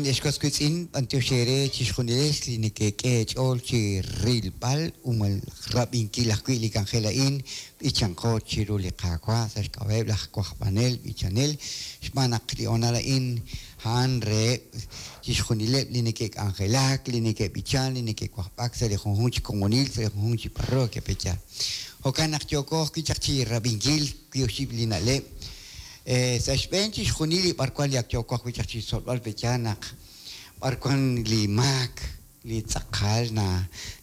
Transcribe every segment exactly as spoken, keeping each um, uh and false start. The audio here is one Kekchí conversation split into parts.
Jo'kan ex was wiitz'in, b'antiox eere chixjunilex li neke'k'e eech'ool chi rilb'al umal rab'inkil ajwi' li k'anjel a'in b'ichanqo chiru li Qaawa' sa' xk'ab'a'eb' laj wajb'anel b'ichanel xb'aan naq li honal a'in a'an reheb' chixjunileb' li neke'k'anjelak, li neke'b'ichan, li neke'wajb'ak sa' li junjunq chi komonil, sa' li junjunq chi parroquia pecha. Jo'kan naq yooko ajwi' chaq chi rab'inkil wi oxib' li na'leb' sa' xb'een chixjunil li b'arwan li ak yooko ajwi' chaq chi xtzolb'al pecha naq b'arwan li maak li tz'aqal na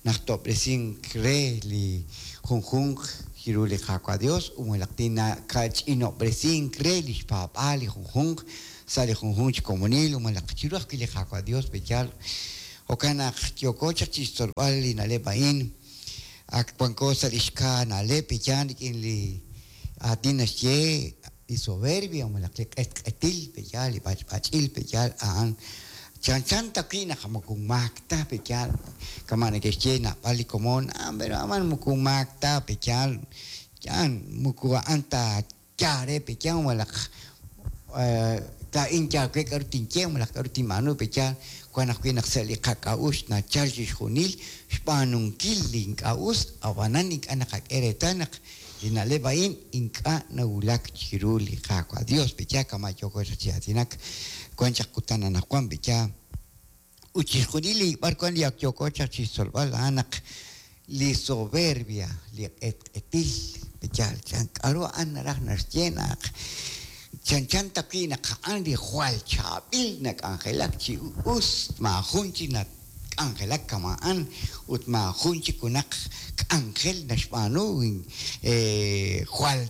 najtob'resink re li junjunq chiru li Qaawa' Dios umalaq tinakach'inob'resink re li xpaab'aal li junjunq sa' li junjunq chi komonil umalaq chiru ajwi' li Qaawa' Dios pecha. Jo'kan naq yooko chaq chi xtzolb'al li na'leb' a'in ak wanko sa' li xka na'leb' pecha rik'in li aatin naxye li soberbia umalaq li q'etq'etil pecha li b'ach'b'ach'il pecha a'an chanchan tawi' naq moko maak ta pecha kama' neke'xye nab'al li komon ah pero aman moko maak ta pecha yan moko a'an ta yaare pecha umalaq laa'in yaal we k'aru tinye umalaq k'aru tinb'aanu pecha wan ajwi' naq sa' li qak'a'uxl nachal chixjunil xb'aanunkil li ink'a' us ab'anan ink'a' naqak'e reetal naq li na'leb' a'in ink'a' nawulak chiru li Qaawa' Dios pecha kama' yooko chaq chi aatinak wan chaq kutan anaqwan pecha ut chixjunil li b'arwan li ak yooko chaq chi xtzolb'al a'an naq li soberbia li q'etq'etil pecha chan k'aru a'an naraj naxye naq chanchan tawi' naq a'an li jwal chaab'il nak'anjelak chi us maajun chi nak'anjelak kama'an ut maajun chi kunaq k'anjel naxb'aanu jwal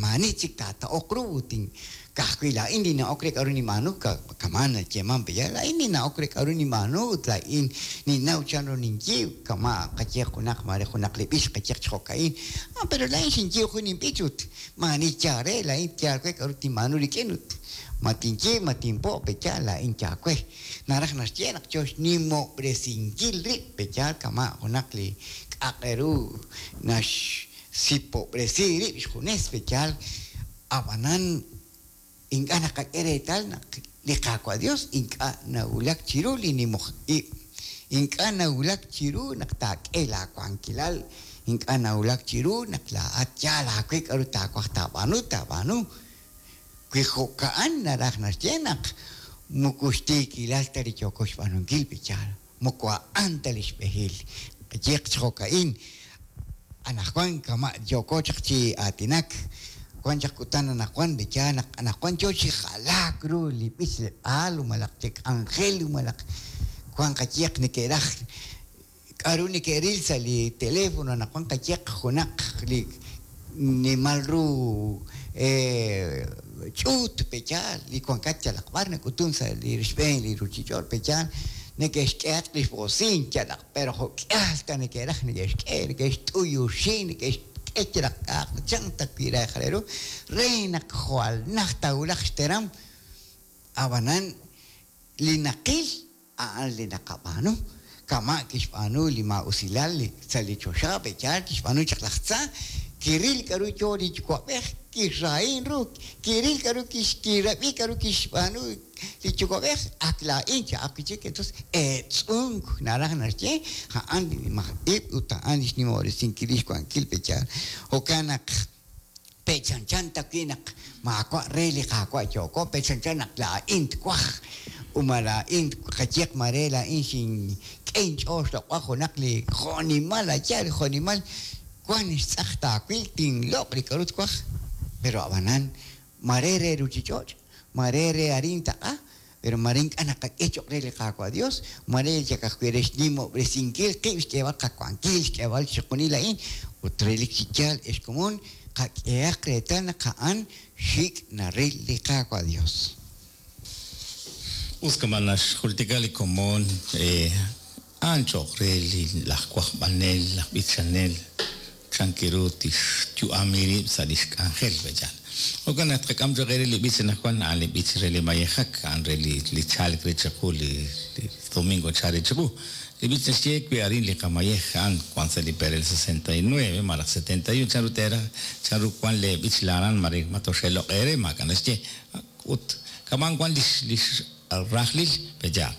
maani chik taata'oq ru ut ka'ajwi' laa'in li na'ok re k'aru ninb'aanu kama' nayeeman pecha laa'in li na'ok re k'aru ninb'aanu ut laa'in ninnaw chan ru ninyiib' kama' qaye junaq mare junaq li b'ich qayeq chi jo'ka'in ah pero laa'in xinyiib' jun inb'ich ut maani yaal re laa'in yaal we k'aru tinb'aanu rik'in ut ma tinyiib' ma tinpo' pecha laa'in yaal we naraj naxye naq yo xnimob'resinkil rib' pecha kama' junaq li k'aq'eru naxsipob'resi rib' xjunes pecha ab'anan ink'a' naqak'e reetal naq li Qaawa' Dios ink'a' nawulak chiru li nimoj ib' ink'a' nawulak chiru naq taak'e laawankilal ink'a' nawulak chiru naq laa'at yaal aawe k'aru taawaj taab'aanu taab'aanu wi jo'ka'an naraj naxye naq moko xtiikilal ta li yooko xb'aanunkil pecha moko a'an ta li xb'ehil qayeq chi jo'ka'in anaqwan kama' yooko chaq chi aatinak wan chaq kutan anaqwan pecha naq anaqwan yo chi jalaak ru li b'ichleb'aal umalaq li k'anjel umalaq wan qayeq neke'raj k'aru neke'ril sa' li teléfono anaqwan qayeq junaq li nimal ru ch'uut pecha li wankat yalaq b'ar nak'utun sa' li xb'een li ruchich'och' pecha neke'xk'ehatq li xb'osin yalaq pero jo'k'ihal ta neke'raj neke'xk'e neke'xt'uyuxi neke'xk'e yalaq k'a'aq chan tawi' re ru re naq jwal naj tawulaq xteram ab'anan li naqil a'an li naqab'aanu kama' kixb'aanu li ma'usilal sa' li choxa pecha kixb'aanu chaq laj tza kiril k'aru yo li yuwa'b'ej kixra'in ru kiril k'aru kixkirab'i k'aru kixb'aanu li yuwa'b'ej ak laa'in cha'aq wi' chik entonces eetz'unk naraj naxye a'an li nimaj ib' ut a'an li xnimob'resinkil li xwankil pecha jo'kan naq pechanchan tawi' naq maawa' re li Qaawa' yooko pechanchan naq laa'in twaj uma laa'in qayeq mare laa'in xink'e inch'ool xloq'b'al junaq li jo'nimal ayal li jo'nimal wan xtz'aq taawil tinloq' li k'aru twaj pero ab'anan mare re ruchich'och' mare re arin taq'a pero mare ink'a' naqak'e cho'q re li Qaawa' Dios mare chak ajwi' re xnimob'resinkil qib' xk'eeb'al qawankil xk'eeb'al chixjunil a'in ut relik chi yaal ex komon qak'ehaq reetal naq a'an xik' naril li Qaawa' Dios. Us kama' naxjultika li komon a'an cho'q re li laj wajb'anel laj b'ichanel chankiru tixyu'ami rib' sa' li xk'anjel pecha. Jo'kan naq tqak'am cho'q re li b'ich anaqwan a'an li b'ich re li mayejak a'an re li li chalk re chiqu li domingo chal re chiqu li b'ich naxye wi arin li qamayej a'an wan sa' li perel sesenta y nueve malaj setenta y uno chanru teeraj chanru wan le b'ich laran mare matoxeloq' eere maak'a' naxye ut kaman wan lix lix rajlil peyaal.